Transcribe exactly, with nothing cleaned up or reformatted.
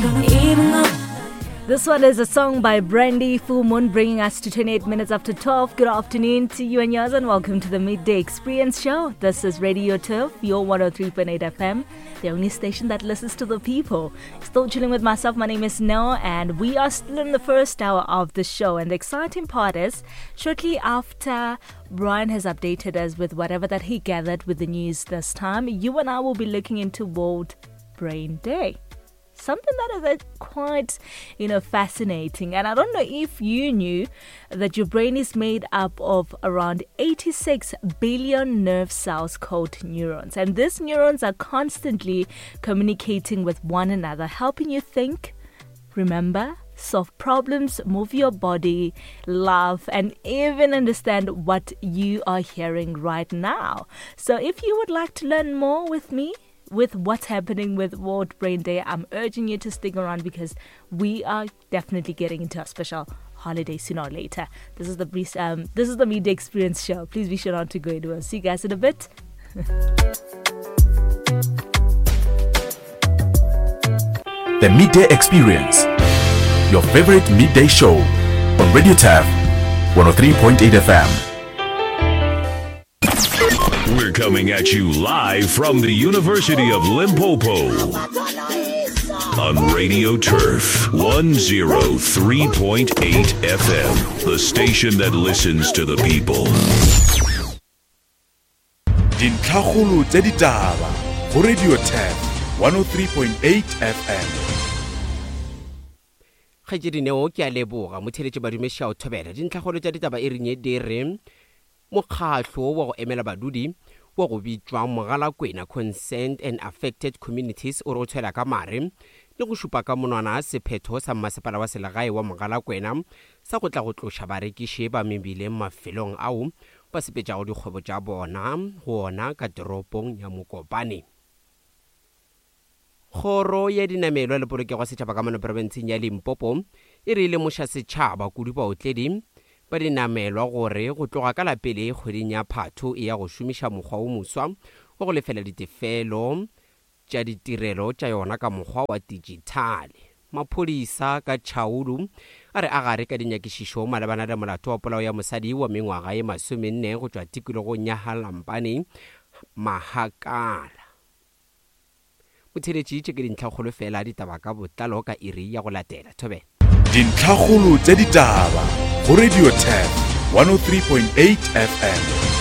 Even though This one is a song by Brandy Full Moon, bringing us to twenty-eight minutes after twelve. Good afternoon to you and yours, and welcome to the Midday Experience Show. This is Radio Turf, your one oh three point eight F M, the only station that listens to the people. Still chilling with myself. My name is Noah, and we are still in the first hour of the show. And the exciting part is, shortly after Brian has updated us with whatever that he gathered with the news this time, you and I will be looking into World Brain Day. Something that is, uh, quite, you know, fascinating. And I don't know if you knew that your brain is made up of around eighty-six billion nerve cells called neurons. And these neurons are constantly communicating with one another, helping you think, remember, solve problems, move your body, laugh, and even understand what you are hearing right now. So if you would like to learn more with me, with what's happening with World Brain Day, I'm urging you to stick around because we are definitely getting into a special holiday sooner or later. This is the brief, um, this is the Midday Experience Show. Please be sure not to go anywhere. See you guys in a bit. The Midday Experience, your favorite midday show on Radio Turf one oh three point eight F M. We're coming at you live from the University of Limpopo on Radio Turf one oh three point eight F M, the station that listens to the people. Dintlhakgolo tša ditaba go Radio Turf one oh three point eight F M. Kgaetšedi Neo, ke a leboga. Motheeletši badumeši a o thobela. Dintlhakgolo tša ditaba e renye di re mokgahlo wa go emela badudi wa go bitšwa Mogalakwena Concerned and Affected Communities o re o tshwela ka mare le go šupa ka monwana sephetho sa mmasepala wa selegae wa Mogalakwena sa go tla go tloša barekiši ba mebileng mafelong ao ba sepetšago dikgwebo tša bona go ona ka toropong ya Mokopane. Kgoro ya dinamelwa le polokego ya setšhaba ka mono profenseng ya Limpopo e re lemoša setšhaba kudu baotledi ba dinamelwa gore go tloga ka la pele kgweding ya Phatho e ya go šomiša mokgwa o moswa wa go lefela ditefelo tša ditirelo tša yona ka mokgwa wa dijithale. Maphodisa ka Tšhaulu a re a gare ka dinyakišišo malebana le molato wa polao ya mosadi wa mengwaga ye masomenne go tšwa tikologong ya Halampane Mahakala. Motheeletši, tše ke dintlhakgolo fela ditaba ka botlalo ka iri ya go latela. Thobela. Dintlhakgolo tša ditaba go Radio Turf one oh three point eight F M.